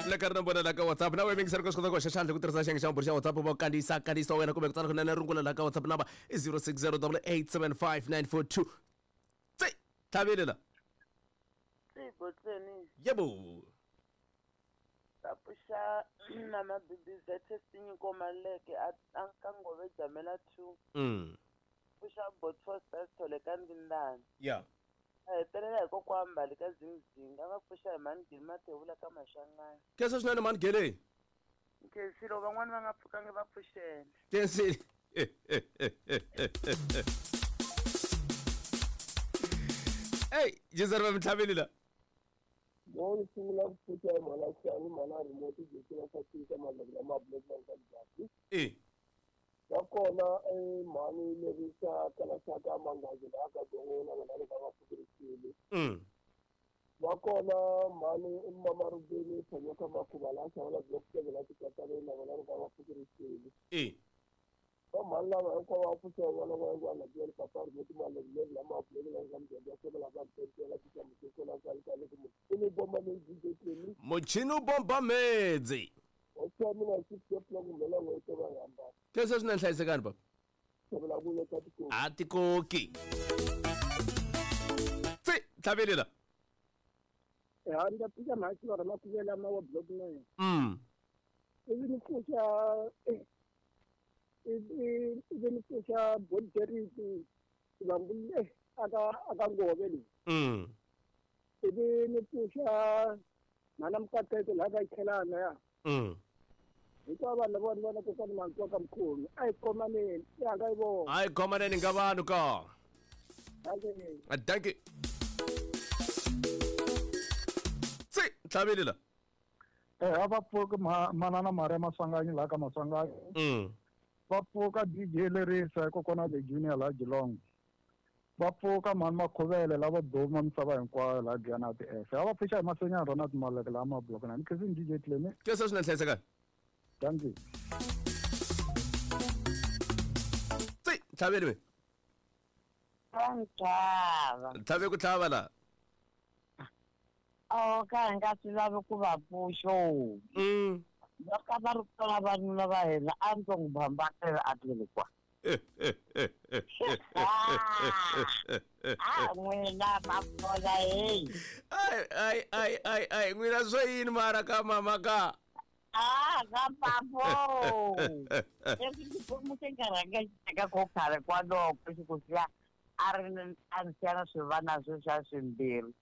Le ka ri nomboro la ka WhatsApp na wena mingiseri ku swi kota ku hoxa xandla ku tirhisa xiyenge xa mabulu xa WhatsApp va kandziyisa kandziyisa wa wena kumbe ku tsala kunene rungula la ka WhatsApp number i 0608875942. Tsi tlhavile la. Tsi Yebo. Ta pfuxa mama BBZ Tinyiko Maleke a a ka Ngove Jamela 2. Pfuxa Botfo Sithole ka Ndindani. Ya. A hetelela hi kokwa Mbali ka Zingzinga a va pfuxa hi mhani Gili Mathebula ka Maxangani. Khensa swinene mhani Gele. Nkhensile van'wani va nga pfukangi va pfuxele. Khensile. Ey, jizari va mitlhaveli la. Mo ni sungula ku pfuxa hi mhana Xani mhana remote jekela swa tika maloko lama block va ka njhani. E. Nakona i mhani lerisa kalasaka mangazi laha ka gongona vona loko va pfukerisile. Nakona mhani i mama Rubeni Thanyoka Makhuva laha xavela block seven la tikataleni na vona loko va pfukerisile. E. Va mhani lava hinkwavo va pfuxa vona va va la byela papa remote maloko leyi lama block la ka mudende wa sebe la ka mudende la tika muteko la ka ka loko muchini bomba leyi DJ Clemi. Muchini u bomba medzi. Hoxa mina 6 o'clock kumbe la n'hweti va hambana. Khensa swinene hlayisekani baba. Xavela ku leta tikoki. A tikoki. Tsi tlhaveli la. Ya ni ta pfuxa mhani Xivara Makhuvela ma wa block 9. Ivi ni pfuxa ivi ni pfuxa Bodgeriti Vambule aka aka Ngove leyi. Ivi ni pfuxa mhana Mukateko laha ka Ikhelana ya. Hinkwavo vanhu lava ni vona kokwana Mantswa ka Mkhulu a hi khomaneni ya nga yi vona. A hi khomaneni nga vanhu ka. Dankie. Dankie. Tsi tlhaveli la. A va pfuki manana Maria Maswanganyi laha ka Maswanganyi. Va pfuka DJ Lerisa kokwana the Junior laha Geelong. Va pfuka mhani Makhuvele lava duma misava hinkwayo laha Giyani TF. A va pfuxa hi Masenyana Ronald Maleke laha Mablock na Nkhensini DJ Clemi. Khensa swinene hlayisekani. Dankie. Tsi tlhaveli we. Va ntlhava. Tlhave ku tlhava la. O ka hi nga swi lavi ku va pfuxo. Loko va ri kona vanuna va hina a ndzi n'wi bambatela a tlele kwa. A n'wina mafola hey. Ai ai ai ai ai n'wina swo yini mara ka mama ka. Ah, ka papo. Leswi xikwembu xi nga rhanga xi teka ko khale kwaloko xi ku siya a ri a ni siya na swivana sweswiya swimbirhi.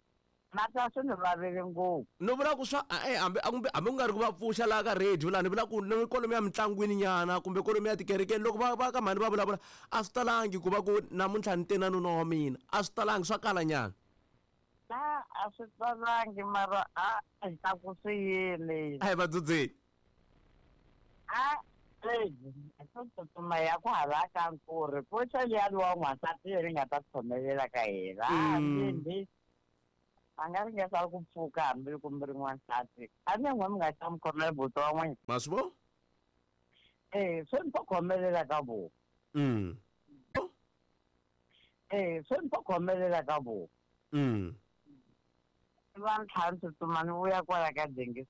Mata swi ni vavele ngopfu. No vula ku swa e hambi kumbe hambi ku nga ri ku va pfuxa laha ka radio laha ni vula ku ni kwalomu ya mintlangwini nyana kumbe kwalomu ya tikerekeni loko va va ka mhani va vulavula a swi talangi ku va ku namuntlha ni te na nuna wa mina a swi talangi swa kala nyana. Na a swi talangi mara a hi ta ku swi yini. A hi va dzudzeni. A swo tsutsuma ya ku hala ka nkuri pfuxa liyani wa n'wansati leri nga ta khomelela ka hina. Hambi a nga ringesa ku pfuka hambi kumbe ri n'wansati a ni n'we mi nga xa mi khomela buti wa n'wina. Ma swi vo? Swi ni to khomelela ka vo. Swi ni to khomelela ka vo. Va ntlhanu tsutsuma ni vuya kwala ka dengisi.